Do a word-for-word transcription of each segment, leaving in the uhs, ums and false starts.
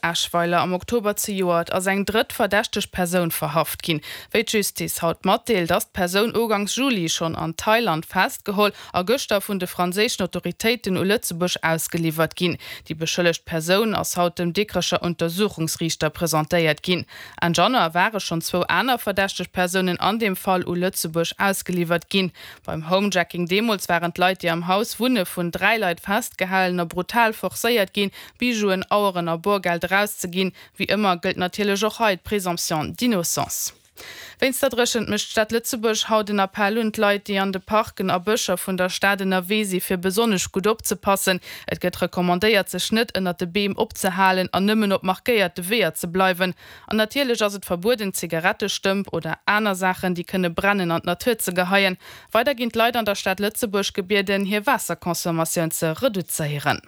Eschweiler am Oktober zejoert ass eng drëtt verdächteg Persoun verhaft ginn. Wéi d'Justiz haut matdeelt, ass d'Persoun ugangs Juli schonn an Thailand festgeholl a gëschter vun de franséischen Autoritéiten u Lëtzebuerg ausgeliwwert ginn. Déi beschëllegt Persoun ass haut dem Dikrecher Untersuchungsriichter presentéiert ginn. Enn Januar ware schonn zwou aner verdächteg Persounen an deem Fall u Lëtzebuerg ausgeliwwert ginn. Beim Homejacking deemools waren d'Leit, déi am Haus wunne vun dräi Leit festgehalen a brutal forcéiert ginn, Bijouen, Aueren a Borgeld erauszeginn. Wéi ëmmer gëllt natierlech och hei d'Présomption d'innocence. Wéinst der Dréchent mécht d'Stad Lëtzebuerg haut en Appell un d'Leit, déi an de Parken a Bëscher vun der Stad ënnerwee si fir besonnesch gutt opzepassen. Et gëtt recommandéiert, sech net ënnert de Beem opzehalen an nëmmen op markéierte Weeër ze bleiwen. An natierlech ass et verbueden, Zigarettestëmp oder aner Saachen, déi kënne brennen, an d'Natur ze geheien. Weider ginn d'Leit an der Stad Lëtzebuerg gebieden, hir Waasserconsommatioun ze reduzéieren.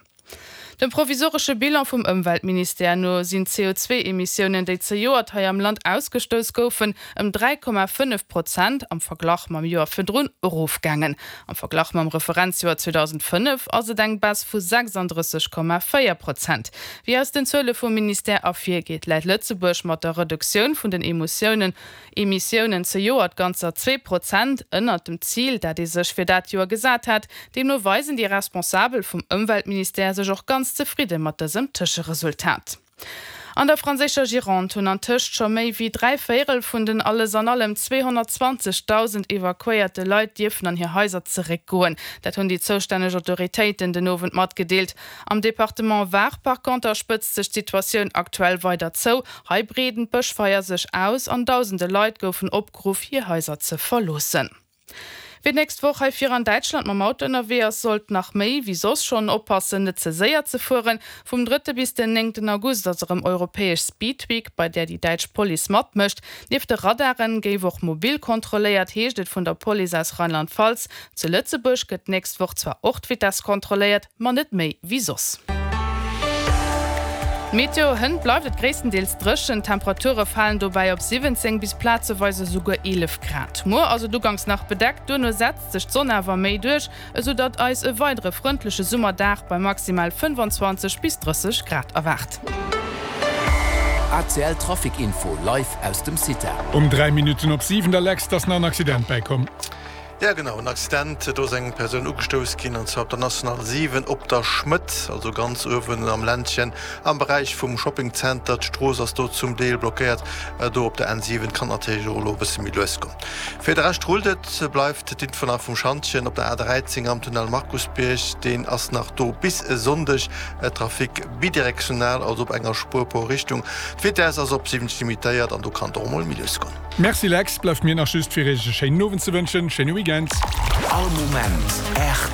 Dem provisoresche Bilan vum Ëmweltministère no sinn d'C O zwee Emissiounen, déi zejoert hei am Land ausgestouss goufen, ëm dräi Komma fënnef Prozent am Verglach mam Joer virdrun erofgaangen. Am Verglach mam Referenzjoer zweedausendfënnef ass et eng Baisse vu sechsanddrësseg Komma véier Prozent. Wéi aus den Zuele vum Ministère ervirgeet, läit Lëtzebuerg mat der Reduktioun vun den Emotiounen Emissiounen zejoert ganzer zwee Prozent ënnert dem Zil, dat ee sech fir dat Joer gesat hat. Deemno weisen déi Responsabel vum Ëmweltministère sech och ganz zefridde mat dësem Tëscheresultat. An der franséischer Gironde hunn antëscht scho méi wéi dräi Véierel vun den alles an allem zweehonnertzwanzegdausend evakuéierte Leit dierfen an hir Haiser zeréckgoen. Dat hunn déi zoustänneg Autoritéiten den Owend matgedeelt. Am Departement Var par conter spëtzt sech d'Situatioun aktuell weider zou. Hei breeden d'Bëschfeier sech aus an dausende Leit goufen opgeruff, hir Haiser ze verloossen. Wien d'nächst Woch hei vir an Däitschland mam Auto ënnerwee ass, sollt nach méi wéi soss schonn oppassen, net ze séier ze fueren. Vum drëtte bis den néngten August ass erëm europäesch Speed Week, bei där déi däitsch Police matmécht. Nieft de Radaren géif och mobil kontrolléiert, heescht et vun der Police aus Rheinland-Pfalz. Zu Lëtzebuerg gëtt d'nächst Woch zwar och d'Vitess kontrolléiert, ma net méi wéi soss. D'Meteo, Hënt bleift et gréisstendeels dréchen, d'Temperature falen dobäi op siwwenzéng bis plazeweis esouguer eelef Grad. Muer ass et uganks nach bedeckt, duerno setzt sech d'Sonn awer méi duerch, esou datt eis e weidere frëndleche Summerdag bei maximal fënnfanzwanzeg bis drësseg Grad erwaart. A C L Trafic Info live aus dem Cita. Um dräi Minutten op siwen der Lex, ass nach en Accident bäikomm. Ja genau, en Accident, do ass eng Persoun ugestouss ginn, an zwar op der National siwen op der Schmëtt, also ganz uewen am Ländchen am Beräich vum Shoppingzenter. D'Strooss ass do zum Deel blockéiert. Do op der N siwen kann et natierlech och elo e bësse méi lues goen. Fir de Rescht rullt et, bleift d'Info nach vum Schantjen op der A dräizéng am Tunnel Markusbierg, deen ass nach do bis e Sonndeg. Trafic bidirektional, also op enger Spuer pro Richtung. D'Vitess ass op siwwenzeg limitéiert an do kann et och emol méi lues goen. Merci Lex, bleift mir nach just fir iech e schéinen Owend ze wënschen. Schéine Weekend. All Moment rtl.